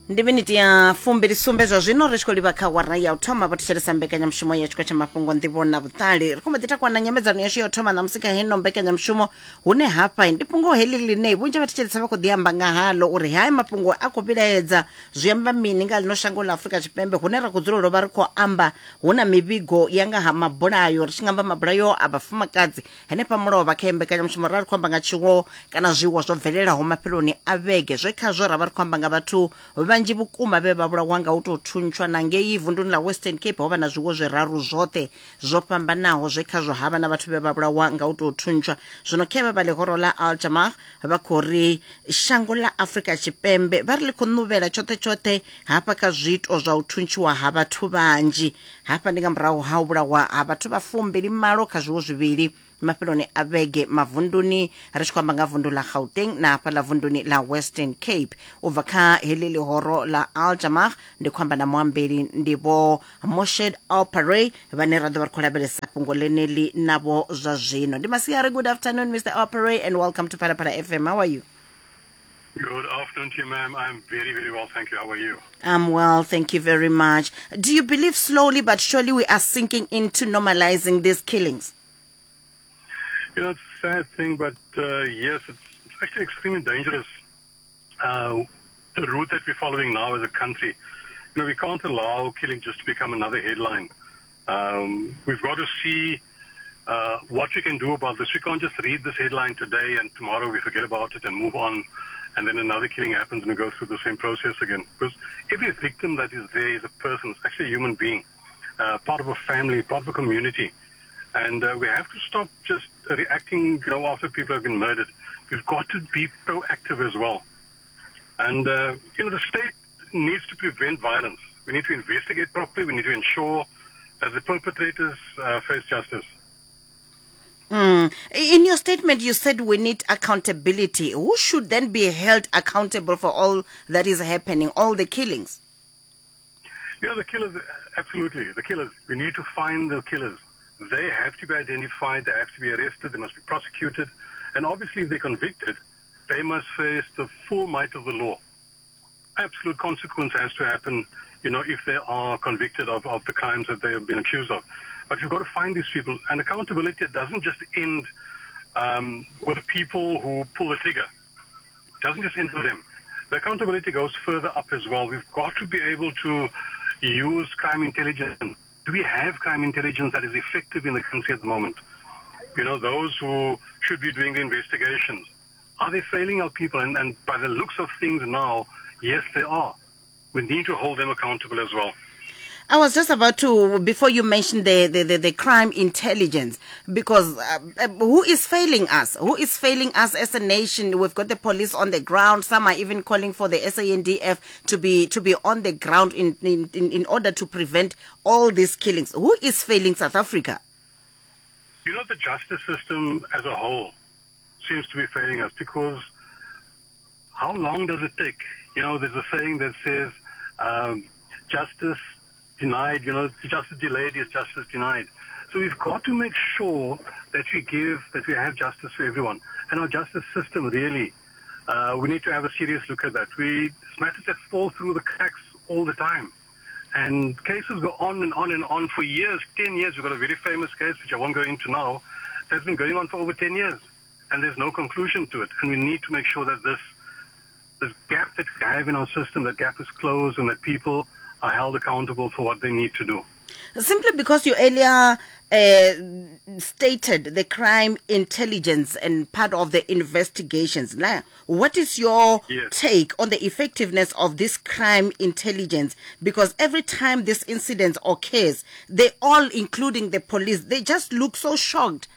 Ndi miniti ya fumbili sumbe zwa zwino ri tshi khou livha kha wara ya u thoma. Vho thetshelesa mbekanyamushumo ya tshikwa tsha mafhungo, nḓivho na vhuṱali. Ri khou mbo ḓi takuwa na nyambedzano yashu ya u thoma ṋamusi kha heino mbekanyamushumo, hune hafha ndi fhungo heḽi ḽine vhunzhi vha thetshelesa vha khou ḓi amba nga haḽo uri haya mafhungo a khou vhilaedza. Zwi amba mini nga ḽino shango ḽa Afrika Tshipembe hune ra khou dzulela u vha ri khou amba hu na mivhigo ya nga ha mabulayo, ri tshi nga amba mabulayo a vhafumakadzi henefha mulovha kha mbekanyamushumo ra ri khou amba nga tshiwo kana zwiwo zwo bvelelaho mafheloni a vhege, zwe khazwo ra vha ri khou amba nga vhathu vhanzhi vhukuma vhe vha vhulawa nga u tou thuntshwa. Na ngei vunduni ḽa Western Cape ho vha na zwiwo zwiraru zwoṱhe zwo fhambanaho zwe khazwo ha vha na vhathu vhe vha vhulawa nga u tou thuntshwa. Zwino khevha vha ḽihoro ḽa Al Jamah vha khou ri shango ḽa Afrika Tshipembe vha ri ḽi khou ṋuvhela tshoṱhe tshoṱhe hafha kha zwiito zwa u thuntshiwa ha vhathu vhanzhi. Hafha ndi nga murahu ha u vhulawa ha vhathu vha fumbili malo kha zwiwo zwivhili mafheloni a vhege mavunduni, ri tshi khou amba nga vundu ḽa Gauteng na hafha ḽa vunduni ḽa Western Cape. U bva kha heḽi ḽihoro ḽa Al Jamah ndi khou amba na muambeli, ndi Vho Moshed Alparey, vhane ra ḓo vha ri khou lavhelesa fhungo ḽeneḽi navho zwa zwino. Ndi masiari, good afternoon Mr Alparey and welcome to Phalaphala FM. How are you? Good afternoon to you, ma'am. I'm very, very well, thank you. How are you? I'm well, thank you very much. Do you believe slowly but surely we are sinking into normalizing these killings? You know, it's a sad thing, but yes, it's actually extremely dangerous. The route that we're following now as a country, you know, we can't allow killing just to become another headline. We've got to see what we can do about this. We can't just read this headline today and tomorrow we forget about it and move on, and then another killing happens and we go through the same process again. Because every victim that is there is a person, it's actually a human being, part of a family, part of a community. And we have to stop just reacting, you know, after people have been murdered. We've got to be proactive as well. And, you know, the state needs to prevent violence. We need to investigate properly. We need to ensure that the perpetrators face justice. In your statement, you said we need accountability. Who should then be held accountable for all that is happening, all the killings? Yeah, the killers, absolutely. The killers. We need to find the killers. They have to be identified. They have to be arrested. They must be prosecuted. And obviously, if they're convicted, they must face the full might of the law. Absolute consequence has to happen, you know, if they are convicted of the crimes that they have been accused of. But you've got to find these people. And accountability doesn't just end with people who pull the trigger. It doesn't just end with them. The accountability goes further up as well. We've got to be able to use crime intelligence. Do we have crime intelligence that is effective in the country at the moment? You know, those who should be doing the investigations, are they failing our people? And by the looks of things now, yes, they are. We need to hold them accountable as well. I was just about to, before you mentioned the crime intelligence, because who is failing us? Who is failing us as a nation? We've got the police on the ground. Some are even calling for the SANDF to be on the ground in order to prevent all these killings. Who is failing South Africa? You know, the justice system as a whole seems to be failing us, because how long does it take? You know, there's a saying that says, justice denied, you know, justice delayed is justice denied. So we've got to make sure that we have justice for everyone. And our justice system, really, we need to have a serious look at that. It's matters that fall through the cracks all the time. And cases go on and on and on for years, 10 years. We've got a very famous case, which I won't go into now, that's been going on for over 10 years. And there's no conclusion to it. And we need to make sure that this gap that we have in our system, that gap is closed and that people are held accountable for what they need to do. Simply because you earlier stated the crime intelligence and part of the investigations. Now, what is your take on the effectiveness of this crime intelligence? Because every time this incident occurs, they all, including the police, they just look so shocked,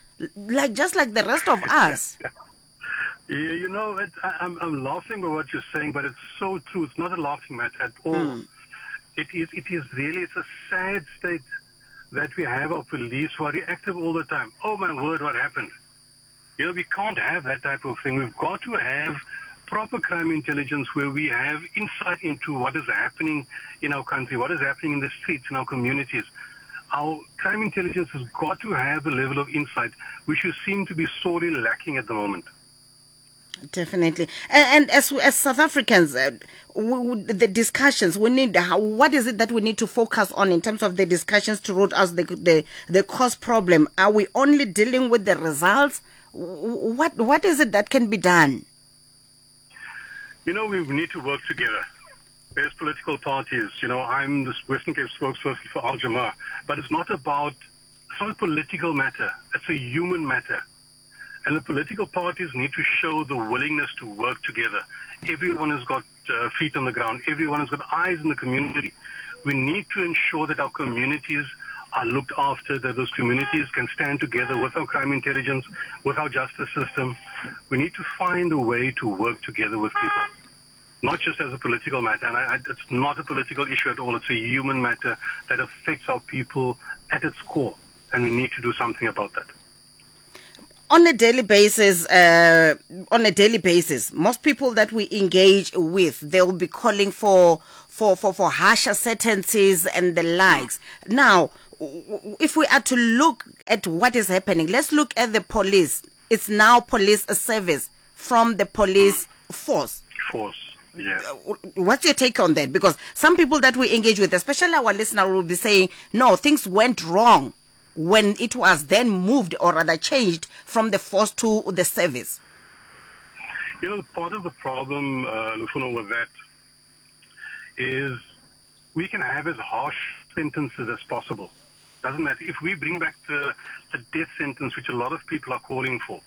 just like the rest of us. Yeah, you know, I'm laughing at what you're saying, but it's so true. It's not a laughing matter at all. It's a sad state that we have our police who are reactive all the time. Oh my word, what happened? You know, we can't have that type of thing. We've got to have proper crime intelligence where we have insight into what is happening in our country, what is happening in the streets, in our communities. Our crime intelligence has got to have a level of insight which we seem to be sorely lacking at the moment. Definitely. And as South Africans, the discussions we need, what is it that we need to focus on in terms of the discussions to root out the cause problem? Are we only dealing with the results? What is it that can be done? You know, we need to work together. There's political parties. You know, I'm the Western Cape spokesperson for Al Jama, but it's not about, it's not a political matter. It's a human matter. And the political parties need to show the willingness to work together. Everyone has got feet on the ground. Everyone has got eyes in the community. We need to ensure that our communities are looked after, that those communities can stand together with our crime intelligence, with our justice system. We need to find a way to work together with people, not just as a political matter. And it's not a political issue at all. It's a human matter that affects our people at its core, and we need to do something about that. On a daily basis, most people that we engage with, they'll be calling for harsher sentences and the likes. Now, if we are to look at what is happening, let's look at the police. It's now police service from the police force. Force, yeah. What's your take on that? Because some people that we engage with, especially our listener, will be saying, no, things went wrong when it was then moved or rather changed from the force to the service. You know, part of the problem, Lufuno, with that is we can have as harsh sentences as possible. Doesn't matter. If we bring back the death sentence, which a lot of people are calling for,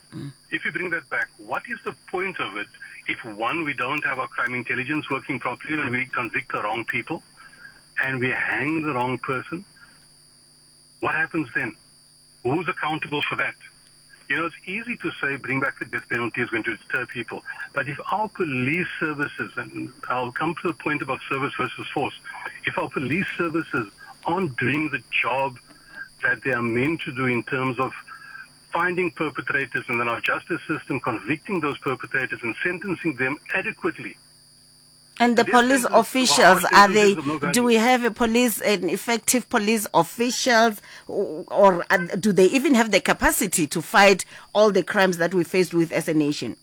if we bring that back, what is the point of it if, one, we don't have our crime intelligence working properly and we convict the wrong people and we hang the wrong person? What happens then? Who's accountable for that? You know, it's easy to say bring back the death penalty is going to deter people. But if our police services, and I'll come to the point about service versus force, if our police services aren't doing the job that they are meant to do in terms of finding perpetrators and then our justice system convicting those perpetrators and sentencing them adequately. And the police officials, are they, do we have a police, an effective police officials, or do they even have the capacity to fight all the crimes that we faced with as a nation?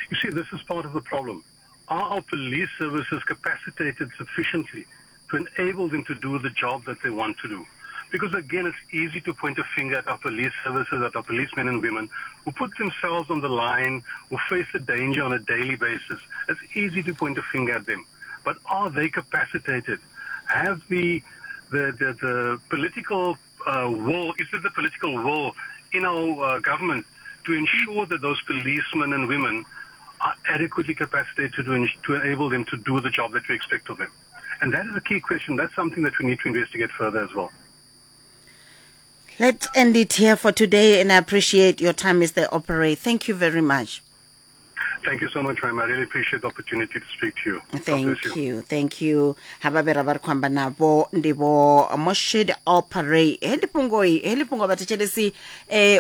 You see, this is part of the problem. Are our police services capacitated sufficiently to enable them to do the job that they want to do? Because, again, it's easy to point a finger at our police services, at our policemen and women who put themselves on the line, who face the danger on a daily basis. It's easy to point a finger at them. But are they capacitated? Have the political will, is it the political will in our government to ensure that those policemen and women are adequately capacitated to enable them to do the job that we expect of them? And that is a key question. That's something that we need to investigate further as well. Let's end it here for today, and I appreciate your time, Mr. Appéré. Thank you very much. Thank you so much, ma'am. I really appreciate the opportunity to speak to you. Thank you. Thank you. Haba be ra ba re khou amba navho ndi vho Moshid Appéré. Heḽi fhungo heḽi fhungo vhathetshelesi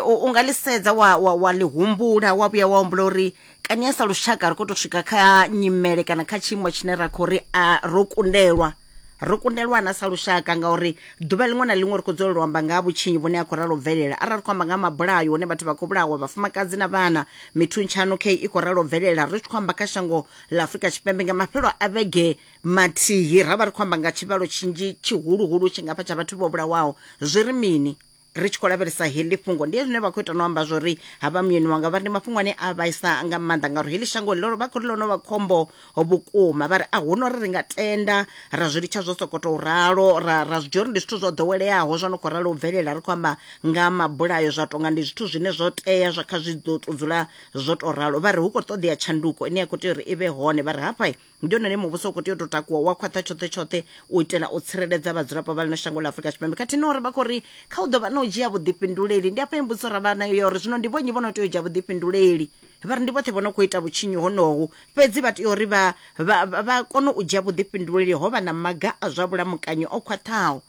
u nga ḽi sedza wa wa wa ḽi humbula wa vhuya wa humbula uri kani sa lushaka ri khou tou swika kha nyimele kana kha tshiimo tshine ra khou ri a ro kundelwa. Ro kundelwa na sa lushaka ngauri ḓuvha ḽiṅwe na ḽiṅwe ri khou dzulela u amba nga ha vhutshinyi vhune ha khou ralo bvelela. Arali ri khou amba nga mabulayo hune vhathu vha khou vhulawa, vhafumakadzi na vhana, mithuntshano khe i khou ralo bvelela. Ri tshi khou amba kha shango ḽa Afrika Tshipembe nga mafhelo a vhege mathihi ra vha ri khou amba nga tshivhalo tshinzhi tshihuluhulu tshingafha tsha vhathu vho vhulawaho. Zwi ri mini ri tshi khou lavhelesa heḽi fhungo? Ndi zwine vha khou ita no amba zwori havha muyeni wanga vha ri ndi mafhungo ane a vhaisa nga maanḓa ngauri heḽi shango ḽo vha khou ri ḽo no vha khombo vhukuma. Vha ri a hu no ri ri nga tenda ra zwi litsha zwo sokoto ralo ra zwi dzhia uri ndi zwithu zwo ḓoweleaho zwo no khou ralo u bvelela. Ri khou amba nga mabulayo zwa tonga ndi zwithu zwine zwo tea zwa kha zwi ḓo tou dzula zwo tou ralo. Vha ri hu khou ṱoḓea tshanduko ine ya khou tea uri i vhe hone. Vha ri hafha ndi hone muvhuso u khou tea u tou takuwa wa khwaṱha tshoṱhe tshoṱhe u itela u tsireledza vhadzulapo vha ḽino shango ḽa Afrika Tshipembe, khathihi na uri vha khou ri kha u ḓo vha na u dzhia vhuḓifhinduleli. Ndi afha mbudziso ra vha nayo ya uri zwino ndi vhonnyi vho no tea u dzhia vhuḓifhinduleli. Vha ri ndi vhoṱhe vho no khou ita vhutshinyi honohu, fhedzi vha tea uri vha kone u dzhia vhuḓifhinduleli ho vha na maga a zwa vhulamukanyi o khwaṱhaho.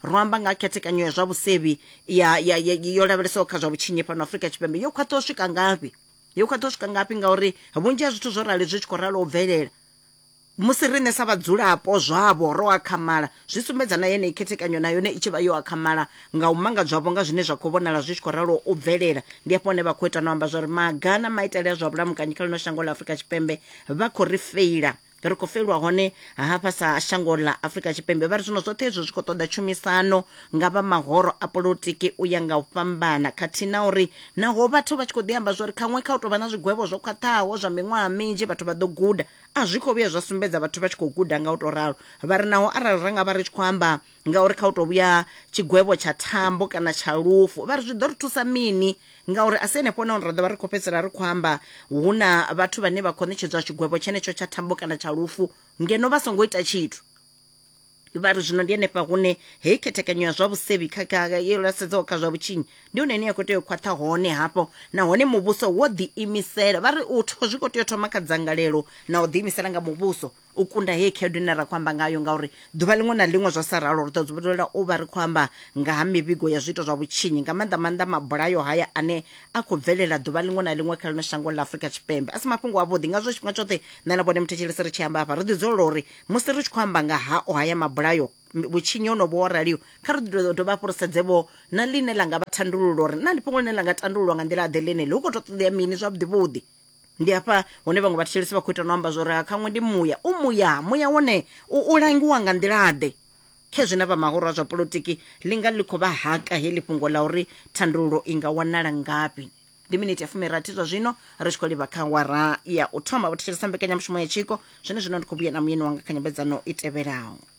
Ro amba nga khethekanyo ya zwa vhusevhi ya yo lavhelesaho kha zwa vhutshinyi fhano Afrika Tshipembe yo khwaṱha u swika ngafhi? Yo khwaṱha u swika ngafhi ngauri vhunzhi ha zwithu zwo rali zwi tshi khou ralo u bvelela. Musi riṋe sa vhadzulapo zwavho ro akhamala, zwi sumbedza na yeneyi khethekanyo na yone i tshi vha yo akhamala nga u mangadzwavho nga zwine zwa khou vhonala zwi tshi khou ralo u bvelela. Ndi hafho hune vha khou ita na u amba zwa uri maga na maitele a zwa vhulamukanyi kha ḽino shango ḽa Afrika Tshipembe vha khou ri feila. Ri khou feilwa hone hafha sa shango ḽa Afrika Tshipembe. Vha ri zwino zwoṱhe hezwo zwi khou ṱoḓa tshumisano nga vha mahoro a polotiki u ya nga u fhambana khathihi na uri naho vhathu vha tshi khou ḓi amba zwa uri khaṅwe kha u tou vha na zwigwevho zwo khwaṱhaho zwa miṅwaha minzhi vhathu vha ḓo guda, A zwi khou vhuya zwa sumbedza vhathu vha tshi khou guda nga u tou ralo. Vha ri naho arali ra nga vha ri tshi khou amba ngauri kha u tou vhuya tshigwevho tsha thambo kana tsha lufu, vha ri zwi ḓo ri thusa mini ngauri a si henefho nahone ra ḓo vha ri khou fhedzisela ri khou amba hu na vhathu vhane vha khou ṋetshedzwa tshigwevho tshenetsho tsha thambo kana tsha lufu ngeno vha songo ita tshithu. Vha ri zwino ndi henefha hune heyi khethekanyo ya zwa vhusevhi kha kha yo lasedzaho kha zwa vhutshinyi ndi hone ine ya khou tea u khwaṱha hone hafho, nahone muvhuso wo ḓiimisela. Vha ri u zwi khou tea u thoma kha dzangalelo na u ḓiimisela nga muvhuso u kunda heyi khaedu ine ra khou amba ngayo, ngauri ḓuvha ḽiṅwe na ḽiṅwe zwa sa ralo ri ḓo dzulela u vha ri khou amba nga ha mivhigo ya zwiito zwa vhutshinyi, nga maanḓa maanḓa mabulayo haya ane a khou bvelela ḓuvha ḽiṅwe na ḽiṅwe kha ḽino shango ḽa Afrika Tshipembe. A si mafhungo avhuḓi, ngazwo tshifhinga tshoṱhe nṋe na vhone muthetshelesi ri tshi amba hafha ri ḓi dzulela uri Musi ri tshi khou amba nga hao haya mabulayo, vhutshinyi honovhu ho raliho, kha ri ḓo dovha hafhu ri sedze-vho na ḽine ḽa nga vha thandululo uri naa ndi fhungo ḽine ḽa nga tandululwa nga nḓila-ḓe ḽeneḽi, hu khou tou ṱoḓea mini zwavhuḓi-vhuḓi. Ndi hafha hune vhaṅwe vhathetshelesi vha khou ita na u amba zwa uri ha khaṅwe ndi muya, u muya, muya wone u, u langiwa nga nḓila-ḓe. Khezwi na vha mahoro a zwa polotiki ḽi nga ḽi khou vha haka heḽi fhungo ḽa uri thandululo i nga wanala ngafhi. Ndi miniti ya fumirathi zwa zwino ri tshi khou livha kha awara ya u thoma. Vho thetshelesa mbekanyamushumo ya tshiko. Zwenezwino ndi khou vhuya na muyeni wanga kha nyambedzano i tevhelaho.